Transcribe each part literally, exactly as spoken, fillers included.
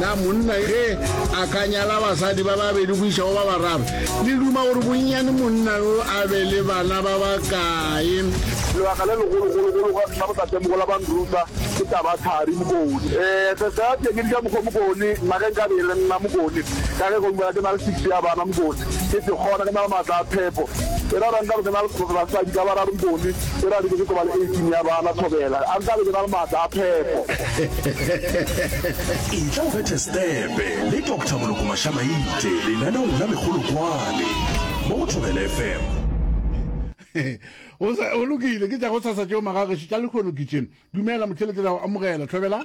Na monna ge a ka nyala basadi ba babedi go iša go ba bararo, le duma gore bonnyane monna yo a be le bana ba bakae? Lebaka le legologologolo la botatemogolo ba nruta ke taba ya thari Mokone. Um se se ke di ka mokgwa Mokone, nna ge nka be e le nna Mokone, ka ge go ke na le six ya bana Mokone, ke se kgona ke na le maatla a phepo. E ra gore nka be ke na le basadi ka bararo Mokone, e ra ke tlo ba le eighteen ya bana thobela, a nka be ke na le maatla a phepo. Etla o bethe stepe le Doctor Moloko Mashamaite lenaneong la Mekgolokwane mo go Thobela F M. O sa- o lokile, ke tša go sasa tšeo magagešo tša lekgono ke tše. Dumela motheletši, ra go amogela. Thobela.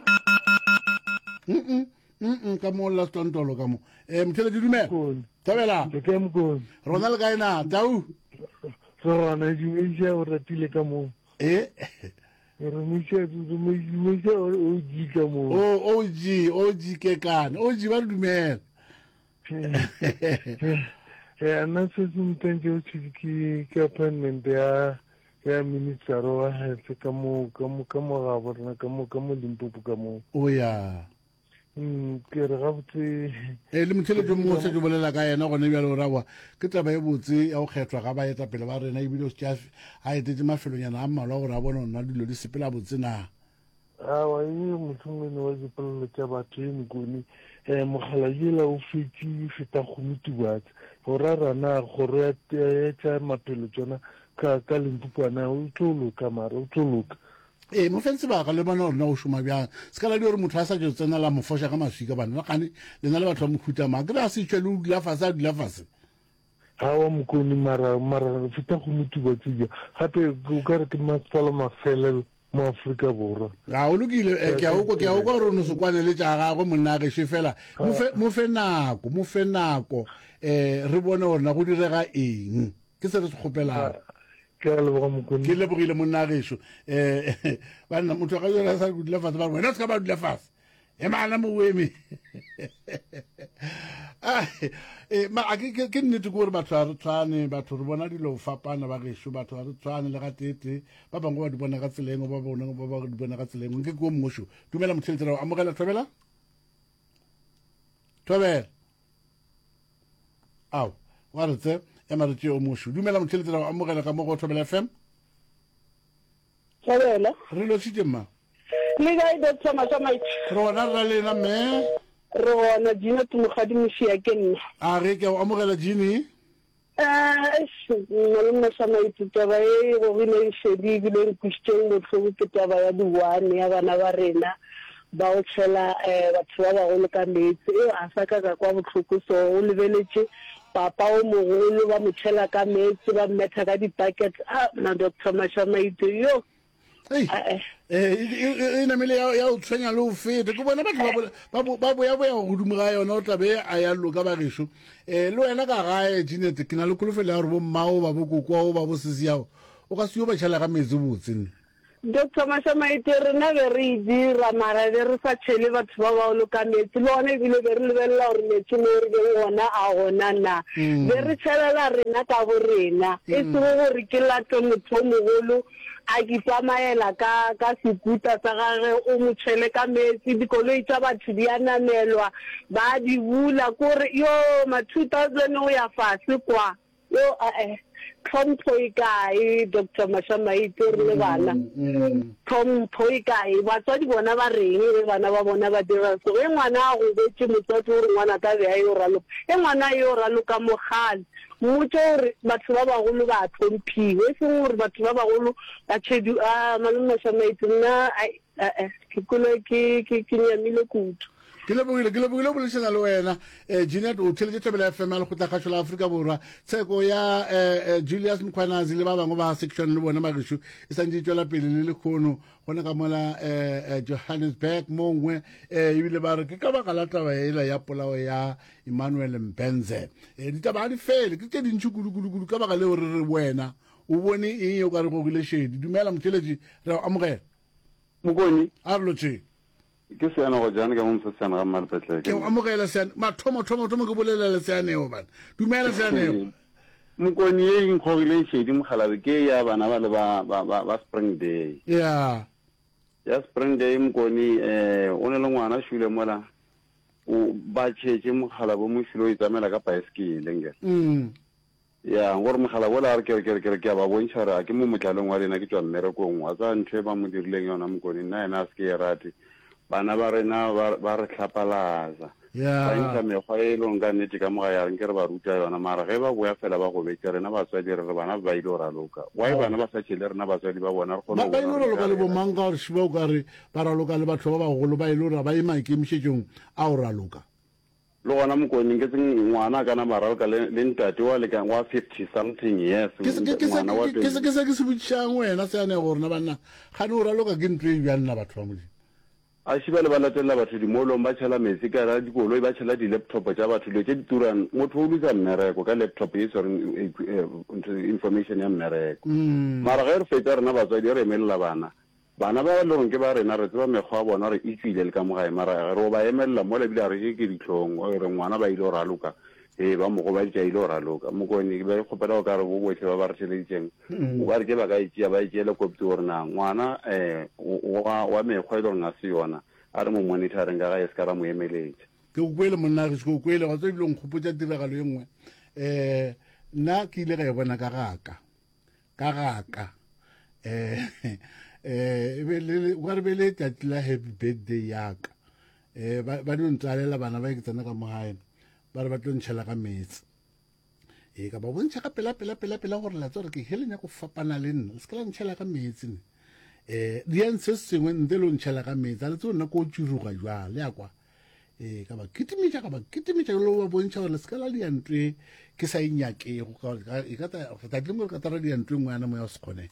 Mm mm ka mo la setontolo ka mo. um motheletši, dumela. Mokone. Thobela. Le kae, Mokone? Rona le kae na tau? Re gona, dumedisa o ratile ka moo. E. Re dumedisa dumedisa o G ka moo. O og og ke kane og ba re dumela. Eh, nna se se ntantse o tshedi ke ke appointment ya ya minister wa health ka mo ka mo ka mo gabo rena ka mo ka mo Limpopo ka mo. O ya. Mm, ke re gabotse. E le motheletši mongwe o setse bolela ka yena gone bjale, o rawa ke taba e botse ya go kgethwa ga baetapele ba rena, ebile o setse a etetse mafelonyana a mmalwa gore a bone gona dilo di sepela botse na. Awa, e mohlomongwe wa dipolelo tša batho e Mokone, um mogala yela o fetše feta kgomo tubatse go ra rana kgoro ya ya tša maphelo tsona ka ka Limpopo ana o tlo loka, mara o tlo loka. Ee, mo feng sebaka le bona gore na o šoma bjang. Se ka la di gore motho a sa tšo tsena la mo foša ka maswika. Bana gane lena le batho ba mohuta mang? Ke re a se tšwe le o dula fase, a dula fase. Awa Mokone, mara mara feta kgomo tubatse ja gape o ka re ke masepala mafelelo mo Afrika Borwa. Ga o lokile, eh, ke a o ke a o kwa gore o no se kwane le tša gagwe monna gešo, fela mo fe mo fe nako, mo fe nako, eh re bone gore na go direga eng. Ke se re se kgopelang. Ke a leboga, Mokone. Ke lebogile monna gešo. um banna motho ga jona sa dula fase, ba re wena o se ka ba dula fase, emana mo o eme. Ke nnete ke gore batho ga re tshwane, batho re bona dilo go fapana ba gešo, batho ga re tshwane le gateetee. Ba bangwe ba di bona ka tsela engwe, ba bangwe ba ba di bona ka tsela engwe. Nke ke o mongwe. Dumela motheletši, ra amogela. Thobela, thobela. Ao, wa re tse ema re tšee o mošo. Dumela motheletši, ra amogela ka mo go Thobela F M. Thobela. Re lotšhitše, mma. Le kae, Doctor Mashamaite? Re gona, re ra lena mme? Re gona, Gina Tumogadi Mošia ke nna. A re ke o amogela, Gini. um malome Mashamaite, taba e e gogileng šedi ebile e nkwišitšeng bohloko ke taba ya diwane ya bana ba rena ba go tšhela um batho ba bagolo ka meetse. Eo a sa ka ka kwa bohloko, so o lebeletše papa o mogolo ba mo tšhela ka meetse, ba mmetha ka di-bucket. A na Doctor Mashamaite, yo! Ei, e namele ya o tshwenya le o feta. Ke bona batho ba boyaboya godimo ga yona, o tlabe a ya loka ba gešo. um le wena ka gae, Jeanette, ke na le kholofelo ya gore bo mmao ba bo kokoao ba bo sesiao o ka se yo ba tšhela ka meetse botse ne. Doctor Mashamaite, rena be re e dira, mara be re sa tšhele batho ba bagolo ka meetse. Le gona ebile be re lebelela gore meetse mo re beng gona a gona na. Be re tšhelela rena ka bo rena, e sego gore ke late motho o mogolo a ke tsamaela ka ka sekuta sa gage o mo tšhele ka meetse. Dikoloi tša batho di a namelwa, ba di bula kore yo ma two thousand go ya fase kwa. Yo ae, tlhompho e kae, Doctor Mashamaite? Re le bana, tlhompho e kae? Batswadi bona ba reng ge bana ba bona ba dira so? Ge ngwana a gobetše, motswadi o re ngwana ka be a yo raloka. Ge ngwana a yo raloka, mogale mmotse gore batho ba bagolo ba hlomphiwe, e seng gore batho ba bagolo ba tšhedi. A malome Mashamaite, nna ae, ke kwele ke ke ke nyamile kudu. Ke lebogile, ke lebogile go boledišana le wena, um Jeanette. O theletše Thobela F M ya Lekgotlakgašo la Afrika Borwa. Tsheko ya um Julius Mkhwanazi le ba bangwe ba section le bona magešo e santse e tšwela pele le lekgono gona ka mola um Johannesburg mo nngwe, um ebile ba re ke ka baka la taba ela ya polao ya Emmanuel Mbenze. um ditaba ga di fele, ke tše dintšhi kudu-kudu-kudu. Ka baka leo re re wena o bone eng e o ka re gogile šedi? Dumela motheletši, re a amogela. Mokone. A re lotšheng. Ke seane go jane ka mo mosesane ga mmalepetleke. Ke amogela seane mathomo thomo thomo ke bolela le seaneo bana. Dumela seaneo. Mokone, ye e nkgogileng šedi mogalabe ke ya bana ba le ba ba ba ba Spring Day. Ya. Ya Spring Day Mokoni eh o ne le ngwana šule mola o ba tšhetše mogala bo mošule o itsamela ka paesekele nke. Mm. Ya gore mogala bola a re ke ke ke ke a ba bontšha gore a ke mo motlalong wa lena ke tšwa mmerekong wa tsaya ntho e ba mo dirileng yona Mokoni nna yena a se ke e rate. Bana ba rena ba ba re hlapalaza. Ya. Ba ntšha mekgwa e leng ka nnete ka mo gae a re nke re ba ruta yona mara ge ba boya fela ba gobetše rena batswadi re re bana ba ile go raloka. Why bana ba sa tšhele rena batswadi ba bona re kgone Ba go ba ile bona go gore raloka nka le re bomang ka gore šiba o ka re ba raloka le batho ba bagolo ba ile gore ba ye maikemišetšong a go raloka. Le gona Mokoni nke tseng ngwana a ka nama a raloka le le ntate wa lekang wa fifty something years Ke se ke ke se ngwana wa ke se twenty. ke se ke se botšišang wena Seanego gore na banna gane go raloka ke ntho e bjang na batho ba Modimo. A še bjale ba latelela batho dimolong, ba tšhela meetse ka gare ga dikoloi, ba tšhela di-laptop tša batho, dilo tše di turang. Motho o lusa mmereko ka laptop ye e swereng ntho, information ya mmereko. Mara ge re fetša rena batswadi re emelela bana, bana ba e leng ke ba rena, re tseba mekgwa ya bona gore e tšwile le ka mo gae, mara re o ba emelela mola ebile ga re je ke dihlong, o re ngwana ba ile go raloka, ee, ba mo gobaditše a ile go raloka. Mokone, ke be ke kgopela go ka re bo bohle ba ba re theleditšeng, o ka re ke ba ka e tšea, ba e tšeele kopti gore na ngwana um wa, wa mekgwa e le goreng ga se yona, a re mo monitoreng ka gae, se ka ra mo emeletša. Ke go kwele monna gešo, ke go kwele, wa tseba ebile o nkgopotša tiragalo e nngwe. Um nna ke ile ka e bona ka gaka, ka gaka. Um um e be le, o ka re be le letšatši la happy birthday ya ka. Um ba, ba dio ntlalela bana ba ke tsena ka mo gae, ba re ba tlo ntšhela ka meetse. Ee, ka ba bontšha ka pela pela pela pela gore la tseba gore ke hele nyako fapana le nna, le se ke la ntšhela ka meetse ne. Eh, diang se sengwe ntle le o ntšhela ka meetse, a le tsebe nna ko tširoga jwang, le ya kwa. Ee, ka ba kitimitša, ka ba kitimitša le go ba bontšha gore le se ka la dia ntho e ke sa e nyakego, ka gore ka, e ka ta, re tla tleng gore ka tara dia ntho e nngwe yana moya o se kgone.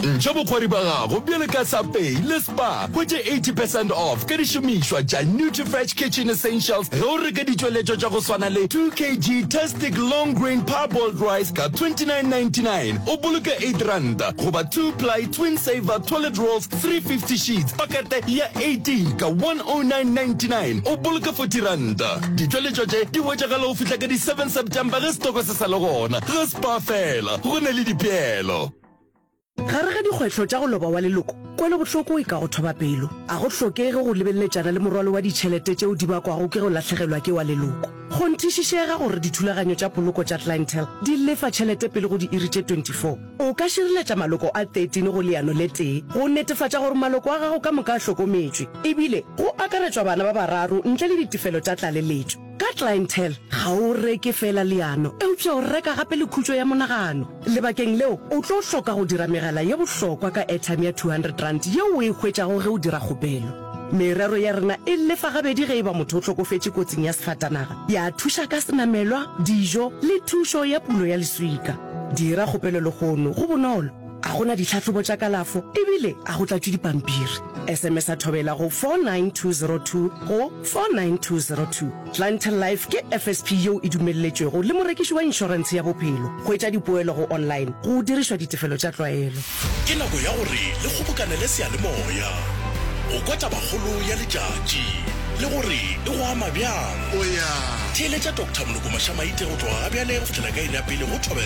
Ntšha bokgwari ba gago bjale ka Sapei le Spar. Hwetša eighty percent off ka dišomišwa tša Nutrifresh Kitchen Essentials ge o reka ditšweletšwa tša go swana le two kg Tastic Long Grain Parboiled Rice ka twenty-nine ninety-nine o boloke eight ranta goba two ply Twin Saver Toilet Rolls three fifty sheets pakete ya eighteen ka one oh nine ninety-nine o boloke forty ranta. Ditšweletšwa tše di hwetšagala go fihla ka di seven September ge setoko se sa le gona. Ga Spar fela go na le dipeelo. Gare ga dikgwetlho tša go loba wa leloko, kwelobohloko e ka go thoba pelo. A go hlokege go lebeleletšana le morwalo wa ditšhelete tšeo di bakwago ke go lahlegelwa ke wa leloko. Kgonthišišega gore dithulaganyo tša poloko tša Clientele di lefa tšhelete pele go diiri tše twenty-four. O ka šireletša maloko a thirteen go leano le tee go netefatša gore maloko a gago ka moka a hlokometšwe, ebile go akaretšwa bana ba bararo ntle le ditefelo tša tlaleletšo. Ka Clientele, ga o reke feela leano, eupša o reka gape le khutšo ya monagano. Lebakeng leo, o tlo hloka go dira megala ye bohlokwa ka airtime ya two hundred rand yeo o e hwetšago ge o dira kgopelo. Merero ya rena e lefa gabedi ge e ba motho o hlokofetše kotsing ya sefatanaga, ya thuša ka senamelwa, dijo le thušo ya pulo ya leswika. Dira kgopelo lehono, go bonolo, ga go na ditlhahlobo tša kalafo ebile ga go tlatšwe dipampiri. S M S a Thobela go four nine two zero two go four nine two zero two. Clientele Life ke F S P yeo e dumelletšwego le morekiši wa inšorentshe ya bophelo. Hwetša dipoelo go online go dirišwa ditefelo tša tlwaelo. Ke nako ya gore le kgobokanele seyalemoya go kwa tabakgolo ya letšatši le gore e go ama bjang. O ya. Theeletša Doctor Moloko Mashamaite go tloga ga bjale go fihlela ka iri ya pele go Thobela.